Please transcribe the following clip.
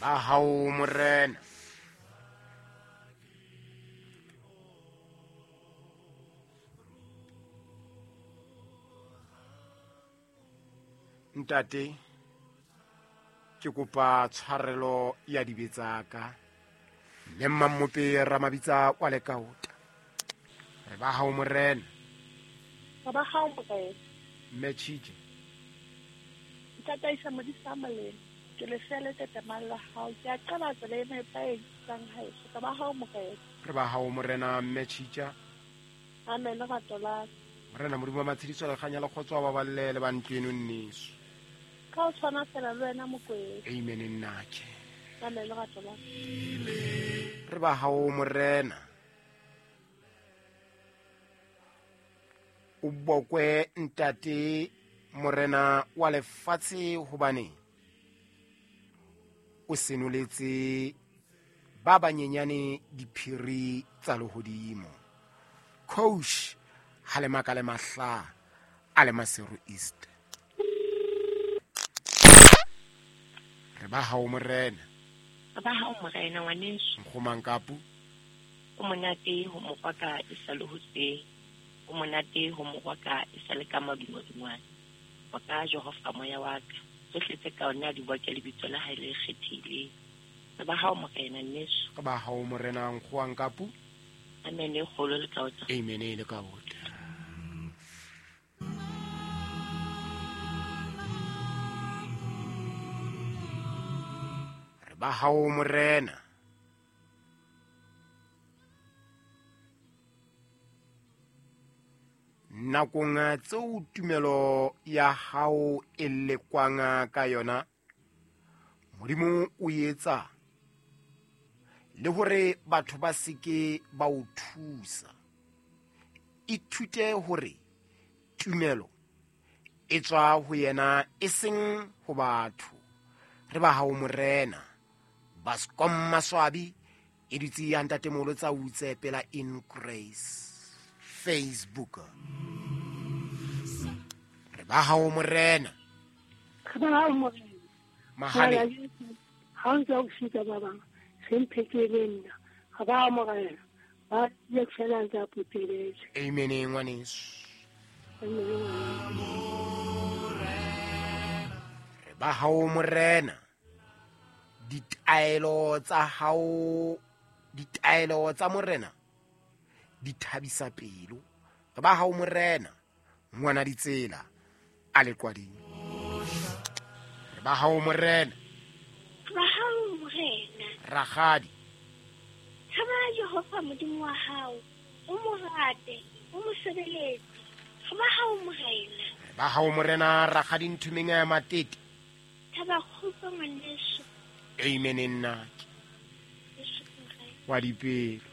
Ba hao morena. Ntate, ke kopa tshwarelo ya dibe tsa ka. Mme Mmamope Ramabitsa wa Lekaota. Re ba hao morena. Re ba hao morena. Mme Chije. Ntataisa modisa molemo. Ke lefele tetemang la hao. Ke a qala tsela e nepahetseng haeso. Re ba hao morena. Re ba hao morena Mme Chija. Amen rato la. Morena Modimo wa matshediso le kganya le kgotso wa baballe le ba ntlo eno nneso. Ka o tshwana fela le wena Mokwena. Amen nnake. Amen rato la. Re ba hao morena. O bokwe ntate morena wa lefatshe hobane o senoletse ba banyenyane diphiri tsa lehodimo. Coach Halemaka le Mahla a le Maseru East. Re ba hao morena. Re ba hao morena ngwaneso. Nkgomang kapu. O monate ho mokgwa ka e sa le hoseng. O monate ho mokgwa ka e sa le ka madungwadungwane. Wa ka Jehova moya wa ka. Tsohle tse ka ona di boke lebitso la hae le kgethehileng. Re ba hao morena nneso. Re ba hao morena nkgowang kapu. Amen e kgolo le kaota. Amen e le kaota. Re ba hao morena. Nakong tseo tumelo ya hao e lekwang ka yona, Modimo o etsa le hore batho ba seke ba o thusa. Ithute hore tumelo e tswa ho yena e seng ho batho. Re ba hao morena. Baskom Maswabi e dutse ya ntatemolo tsa utse pela in grace Facebook. Re ba hao morena. Re ba hao morena. Mahale. Ha o ntse o fika ba bang, se mphekele nna. Re ba hao morena. Ba ye fela ntse a puteletse. Amen ngwaneso. Re ba hao morena. Ditaelo tsa hao, ditaelo tsa morena di thabisa pelo. Re ba hao morena ngwana ditsela a leqwading. Re ba hao morena. Re ba hao morena. Rakgadi. Tshaba Jehova Modimo wa hao, o mo rate, o mo sebeletse. Re ba hao morena. Re ba hao morena Rakgadi Nthumeng ya Matete. Thaba kgotso ngwaneso. Amen nnake. Wa dipelo.